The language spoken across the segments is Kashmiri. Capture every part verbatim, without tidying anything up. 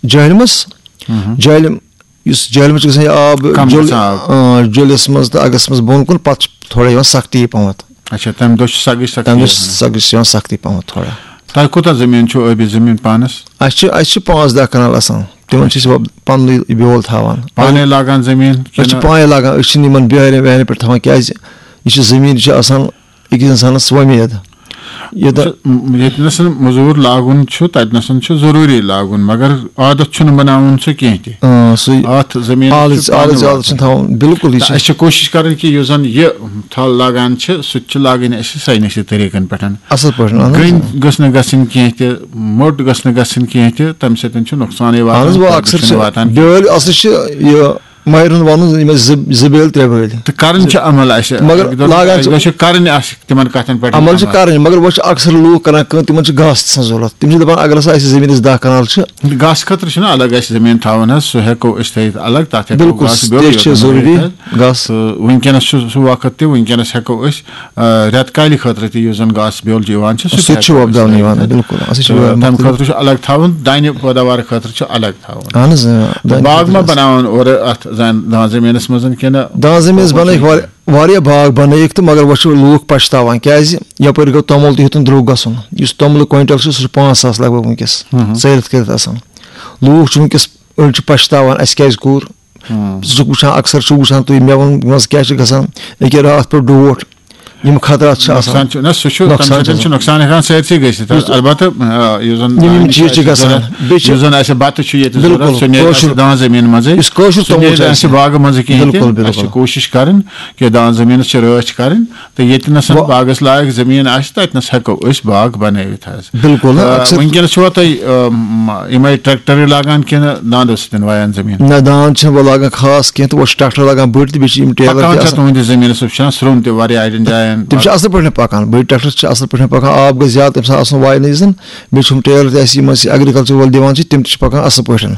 جہلمس۔ جہلم، یُس جہلمس چھُ گژھان یہِ آب کم جل-، گژھان آب۔ آ، جُلِس منٛز تہٕ اگس منٛز بۄن کُن، پتہٕ چھُ تھوڑا یِوان سختی پہمتھ۔ اچھا، تمہِ دۄہ چھُ سختی تمہِ دۄہ چھُ سختی یِوان۔ سختی چھِ یِوان سختی پہمتھ تھوڑا۔ تۄہہِ کوٗتاہ زٔمیٖن چھُو ٲبی زٔمیٖن پانس؟ اَسہِ چھِ، اَسہِ چھِ پانٛژھ دَہ کنال آسان، تِمن چھِ أسۍ وۄپ-، پننُے بیول تھاوان۔ پانے لاگان زٔمیٖن أسۍ چھِ کِنہٕ؟ پانے لاگان، أسۍ چھِنہٕ یِمن بیہارٮ۪ن ویہارٮ۪ن پٮ۪ٹھ تھاوان، کیازِ یہِ چھِ زٔمیٖن، یہِ چھِ آسان أکِس اِنسانَس وۄمید۔ یہِ دَ-، وٕچھ، م-، ییٚتہِ نَسَن مٔزوٗر لاگُن چھُ، تَتہِ نَسَن چھُ ضروٗری لاگُن، مگر عادت چھُنہٕ بَناوُن سُہ کینٛہہ تہِ۔ اۭں، سُے اَتھ زٔمیٖنَس چھُ عادت، پانہٕ عادت واتُن۔ چھُنہٕ تھاوُن، بِلکُل، یہِ تہٕ چھُ اَسہِ چھِ کوٗشِش کَرٕنۍ کہِ یُس زَن یہِ تھل لاگان چھِ، سُہ تہِ چھِ لاگٕنۍ اَسہِ ساینسی طریٖقَن پٮ۪ٹھ۔ اَصٕل پٲٹھۍ، اَہَن حظ۔ گٔنۍ گٔژھ نہٕ گژھٕنۍ کینٛہہ تہِ، موٚٹ گٔژھ نہٕ گژھٕنۍ کینٛہہ تہِ، تَمہِ سۭتۍ چھُ نۄقصانٕے واتان، اَہَن حظ، وۄنۍ فٲیدٕ اَکثر چھُنہٕ چھِ واتان کینٛہہ۔ بیٛٲلۍ، اَصٕل چھِ یہِ ماہرن وَنُن، یِم ٲسۍ زٕ، زٕ بیٛٲلۍ، ترٛےٚ بیٛٲلۍ۔ تہٕ کران چھِ عمل اَسہِ۔ مگر اَکہِ دۄہ، لاگان اَکہِ چھِ دۄہ چھِ کرٕنۍ اَسہِ تِمن کَتھن پٮ۪ٹھ عمل چھِ عمل۔ کرٕنۍ، مگر وۄنۍ چھِ اکثر لوٗکھ کران کٲم، تِمن چھِ گاسہٕ آسان ضوٚرتھ۔ تِم چھِ دَپان، اگر ہسا اَسہِ زٔمیٖنَس دَہ کنال چھِ۔ گاسہٕ خٲطرٕ چھُنہٕ الگ اَسہِ زٔمیٖن تھاوُن حظ، سُہ ہٮ۪کو أسۍ تھٲیِتھ الگ، تَتھ ہٮ۪کو بِلکُل، گاسہٕ بیول تہِ چھِ یوت ضروٗری، بَنٲوِتھ حظ۔ گاسہٕ۔ تہٕ وٕنکیٚنَس چھُ سُہ وقت تہِ، وٕنکیٚنَس ہٮ۪کو أسۍ، آ، رٮ۪تہٕ کالہِ خٲطرٕ تہِ یُس زَن گاسہٕ بیول چھُ یِوان چھُ، سُہ تہِ سُہ تہِ ہٮ۪کو چھُ أسۍ وۄپداونہٕ تھٲیِتھ یِوان، حظ۔ بِلکُل۔ اَسہِ چھُ تہٕ وۄپداونہٕ تَمہِ خٲطرٕ۔ خٲطرٕ چھُ الگ تھاوُن، دانہِ پٲداوار خٲطرٕ چھُ الگ تھاوُن۔ اہن حظ، اۭں، تہٕ دانہِ باغ خٲطرٕ ما حظ۔ بناوان اورٕ اَتھ زَن-، دان زٔمیٖنَس منٛز کِنہٕ دان زٔمیٖنَس بَنٲیِکھ وار-، واریاہ باغ بَنٲیِکھ تہٕ مگر وۄنۍ چھِ لوٗکھ پَشتاوان، کیٛازِ یَپٲرۍ گوٚو توٚمُل تہِ ہیوٚتُن درٛوٚگ گژھُن۔ یُس توٚملہٕ کویِنٹَل چھُ، سُہ چھُ پانٛژھ ساس لگ بگ وٕنکیٚس ہُم ہُم۔ ژٲلِتھ کٔرِتھ آسان۔ لوٗکھ چھِ وٕنکیٚس، أڑۍ چھِ پَشتاوان، اَسہِ کیٛازِ کوٚر؟ ہُم۔ ژٕ چھُکھ وٕچھان، اکثر چھُکھ وٕچھان تُہۍ مٮ۪وَن منٛز کیٛاہ چھُ گژھان، أکیٛاہ راتھ پٮ۪ٹھ ڈوٹھ، یِم خطرات چھِ آسان۔ نۄقصان چھُ، نہ، سُہ چھُ، نۄقصان تَمہِ چھُ سۭتۍ چھُ آسان۔ نۄقصان ہٮ۪کان سٲرسٕے گٔژھِتھ۔ یُس البتہ، آ، یُس زَن یِم، یِم دانہِ چھِ چیٖز چھِ اَسہِ گژھان۔ ضوٚرَتھ، بیٚیہِ چھِ یُس زَن اَسہِ بَتہٕ چھُ ییٚتہِ بِلکُل، ضوٚرَتھ، سُہ نیرِ کٲشُر، اَسہِ دان زٔمیٖن منٛزٕے۔ یُس کٲشُر سُہ توٚمُل نیرِ چھُ اَسہِ اَسہِ۔ باغہٕ منٛزٕ کِہیٖنۍ بِلکُل، تہِ۔ بِلکُل۔ اَسہِ چھِ کوٗشِش کَرٕنۍ کہِ دان زٔمیٖنَس چھِ رٲچھ کَرٕنۍ۔ تہٕ ییٚتہِ نَسَن وۄنۍ باغَس لایق زٔمیٖن آسہِ، تَتہِ نَس ہٮ۪کو أسۍ باغ بَنٲوِتھ حظ۔ بِلکُل، تہٕ اَکثر وٕنکیٚنَس چھُوا تۄہہِ، آ، م-، یِمَے ٹرٛیکٹَرٕے لاگان کِنہٕ دانٛدو سۭتۍ وایان زٔمیٖن؟ نہ، دانٛد چھِنہٕ وۄنۍ لاگان خاص کینٛہہ، تہٕ وۄنۍ چھِ ٹرٛیکٹَر لاگان بٔڑۍ تہِ، بیٚیہِ چھِ یِم ٹیلَر پَکان تہِ چھا آسان۔ تُہٕنٛدِس زٔمیٖنَس، وٕچھان سرٛوٚن تہِ واریاہ اَڑٮ۪ن جایَن؟ تِم چھِ اَصٕل پٲٹھۍ پَکان، بٔڑۍ ٹرٛیکٹَر چھِ اَصٕل پٲٹھۍ پَکان، آب گژھِ زیادٕ، تَمہِ ساتہٕ آسان واینہٕ یُس زَن، بیٚیہِ چھُم ٹیلَر تہِ اَسہِ، یِم اَسہِ ایگریکلچر وٲلۍ دِوان چھِ، تِم تہِ چھِ پَکان اَصٕل پٲٹھۍ،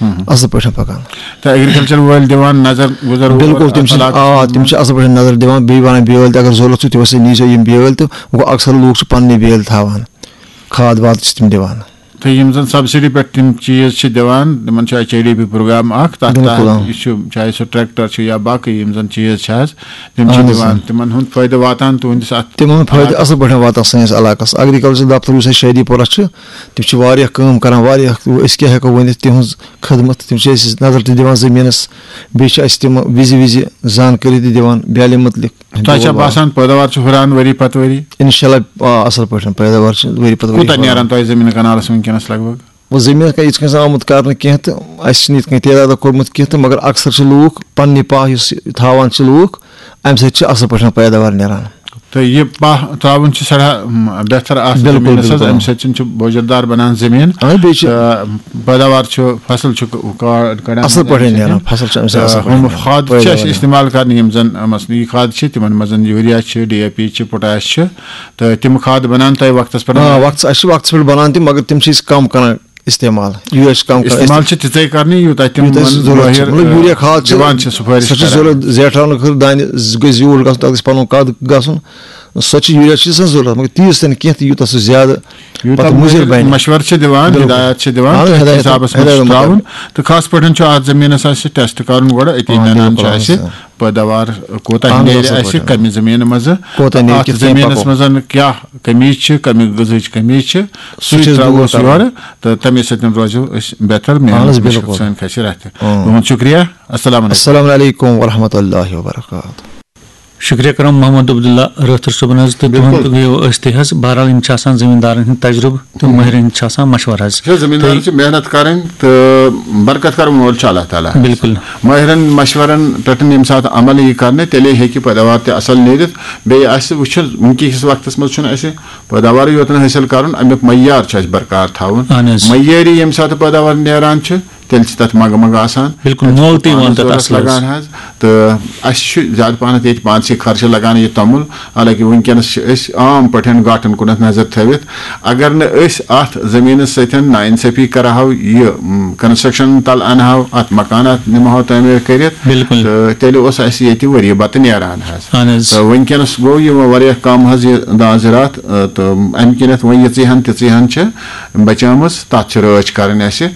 ہُم۔ اَصٕل پٲٹھۍ پَکان۔ تہٕ ایگریکلچر وٲلۍ دِوان نظر گُزر اور بِلکُل، تِم چھِ، علاقہٕ آ، تِم چھِ اَصٕل پٲٹھۍ نظر دِوان۔ بیٚیہِ وَنان، بیٲلۍ تہِ اگر ضوٚرَتھ چھُ، تِم ہسا نیٖزیو یِم بیٲلۍ تہٕ گوٚو اَکثر لوٗکھ چھِ پَننُے بیٲلۍ تھاوان، کھاد واد چھِ تِم دِوان۔ تہٕ یِم زَن سبسڈی پٮ۪ٹھ تِم چیٖز چھِ دِوان، تِمن چھُ H I D P programme اکھ، تَتھ بِلکُل، تحت آ۔ یہِ چھُ، چاہے سُہ ٹریکٹر چھُ یا باقٕے یِم زَن چیٖز چھِ حظ، تِم چھِ اہن حظ، دِوان۔ آ۔ تِمن ہُنٛد فٲیدٕ واتان تُہٕنٛدِس اَتھ تِمن ہُنٛد فٲیدٕ علاقس؟ اَصٕل پٲٹھۍ واتان سٲنِس علاقس۔ ایگریکلچر دفتر یُس اَسہِ شادی پورہ چھُ، تِم چھِ واریاہ کٲم کران، واریاہ، أسۍ کیٛاہ ہٮ۪کو ؤنِتھ تِہٕنٛز خدمت۔ تِم چھِ اَسہِ نظر تہِ دِوان زٔمیٖنَس، بیٚیہِ چھِ اَسہِ تِم وِزِ وِزِ زانکٲری تہِ دِوان بیٛالہِ مُتعلِق۔ تۄہہِ چھا باسان پٲداوار چھُ ہُران ؤری پتہٕ ؤری؟ اِنشاء اللہ، آ، اَصٕل پٲٹھۍ پٲداوار چھِ ؤری پتہٕ ؤری کوٗتاہ ہُران۔ نیران تۄہہِ زٔمیٖن کنالَس وٕنکیٚنَس لگ بگ؟ وۄنۍ زٔمیٖنَس کانٛہہ یِتھ کٔنۍ آسان آمُت کرنہٕ کینٛہہ تہٕ اَسہِ چھِنہٕ یِتھ کٔنۍ تعدادہ کوٚرمُت کینٛہہ تہٕ، مگر اکثر چھِ لوٗکھ پننہِ پاہ یُس تھاوان چھِ لوٗکھ، اَمہِ سۭتۍ چھِ اَصٕل پٲٹھۍ پٲداوار نیران۔ تہٕ یہِ پاہ ترٛاوُن چھُ سٮ۪ٹھاہ، م، بہتر اَتھ بِلکُل، زٔمیٖنَس حظ۔ بِلکُل۔ اَمہِ سۭتۍ چھُنہٕ چھُ بوجر دار بَنان زٔمیٖن۔ اَہَن، بیٚیہِ چھُ تہٕ پٲداوار چھُ، فصل چھُ ک-، کا-، کَڑان اَصٕل پٲٹھۍ اَمہِ سۭتۍ۔ نیران، فصل چھُ اَمہِ سۭتۍ تہٕ اَصٕل پٲٹھۍ ہُم نیران۔ کھاد چھِ پٲداوار اَسہِ نیران۔ استعمال کَرنہٕ، یِم زَن، مثلاً، یہِ کھاد چھِ، تِمَن منٛز یوٗریا چھِ، ڈی اے پی چھِ، پوٹاش چھِ، تہٕ تِم کھاد بَنان تۄہہِ وقتَس پٮ۪ٹھ؟ آ، وقتَس، اَسہِ چھِ وقتَس پٮ۪ٹھ بَنان تِم، مگر تِم چھِ أسۍ کَم کَران استعمال۔ یوٗریا چھِ کَم کَران استعمال۔ چھِ تِژَے کَرنہِ، یوٗتاہ تِم یوٗتاہ أسۍ مٲہِر، ضروٗرت چھِ۔ مطلب، یوٗریا کھاد چھِ دِوان چھِ سُفٲرِش سۄ چھِ کَران۔ ضروٗرت، زیٹھراونہٕ خٲطرٕ دانہِ گژھِ زیوٗٹھ گژھُن، تَتھ گژھِ پَنُن قد گژھُن۔ سۄ چھِ یوٗریا چھِ آسان ضروٗرت، مگر تیٖژ تہِ نہٕ کینٛہہ تہٕ یوٗتاہ سُہ زیادٕ پَتہٕ مُضِر بَنہِ۔ مَشوَرٕ چھِ دِوان، بِلکُل۔ ہِدایت چھِ دِوان، اَہَن حظ، کَتھ ہِدایت، حِسابَس منٛز ہِدایت چھُ ترٛاوُن۔ مُطٲبِق۔ تہٕ خاص پٲٹھۍ چھُ اَتھ زٔمیٖنَس اَسہِ ٹیسٹ کَرُن گۄڈٕ، أتی آ، نَنان بِلکُل، چھِ اَہَن اَسہِ حظ۔ پٲداوار کوٗتاہ اَہَن حظ، نیرِ اَصٕل اَسہِ، پٲٹھۍ۔ کَمہِ زٔمیٖنہٕ منٛزٕ، کوٗتاہ نیرِ، اَتھ کِتھ کٔنۍ زٔمیٖنَس پَکو۔ منٛز کیٛاہ کٔمی چھِ، کَمہِ غذہٕچ کٔمی چھِ، سُہ سُہ چھِ أسۍ ترٛاوو دوٗر أسۍ کَرُن۔ یورٕ، تہٕ تَمے سۭتۍ روزو أسۍ بہتر، اَہَن حظ، محنت مُشکِل بِلکُل۔ سٲنۍ کھسہِ رَتھِ۔ اۭں۔ تُہُنٛد شُکریہ۔ السلام علیکم۔ السلام علیکم ورحمۃ اللہ وبرکاتہ۔ شُکریہ کران محمد عبداللہ رٲتھٕر صٲبُن حظ، تہٕ بِلکُل۔ تِہُنٛد تہِ گٔیو أسۍ تہِ حظ۔ بہرحال، یِم چھِ آسان زٔمیٖندارَن ہٕنٛدۍ تجرُبہٕ تہٕ مٲہرَن ہٕنٛدۍ چھِ آسان مشورٕ حظ۔ چھِ زٔمیٖندارَن تہٕ چھِ محنت کَرٕنۍ تہٕ برکت کَرُن وول چھُ اللہ تعالیٰ۔ بِلکُل۔ مٲہرَن مشورَن پٮ۪ٹھ ییٚمہِ ساتہٕ عمل یی کَرنہٕ، تیٚلے ہیٚکہِ پٲداوار تہِ اَصٕل نیٖرِتھ۔ بیٚیہِ آسہِ وٕچھُن، وٕنکہِ کِس وقتَس منٛز چھُنہٕ اَسہِ پٲداوارٕے یوت نہٕ حٲصِل کَرُن، اَمیُک معیار چھُ اَسہِ برقرار تھاوُن۔ اَہَن حظ۔ معیٲری ییٚمہِ ساتہٕ پٲداوار نیران چھِ، تیٚلہِ چھِ تَتھ منٛگہٕ منٛگہٕ آسان۔ بِلکُل، تَتہِ چھِ مۄل تہِ یِوان پانَس تَتھ ضوٚرَتھ اَصلَس۔ لَگان حظ۔ تہٕ اَسہِ چھُ زیادٕ پَہنَتھ ییٚتہِ پانسٕے خرچہٕ لَگان یہِ توٚمُل، حالانکہِ وٕنکیٚنَس چھِ أسۍ عام پٲٹھۍ گاٹَن کُنَتھ نظر تھٲوِتھ۔ اگر نہٕ أسۍ اَتھ زٔمیٖنَس سۭتۍ نااِنصٲفی کَرٕہاو، یہِ م، construction تَل اَنہاو، اَتھ مکانات نِمہاو تعمیٖر کٔرِتھ، بِلکُل۔ تہٕ تیٚلہِ اوس اَسہِ ییٚتہِ ؤریہِ بَتہٕ نیران حظ۔ اَہَن حظ۔ تہٕ وٕنکیٚنَس گوٚو یہِ واریاہ کَم حظ یہِ دان زِراعت، تہٕ اَمہِ کِنٮ۪تھ وۄنۍ یِژٕے ہَن تِژٕے ہَن چھِ بَچیمٕژ، تَتھ چھِ رٲچھ کَرٕنۍ اَسہِ۔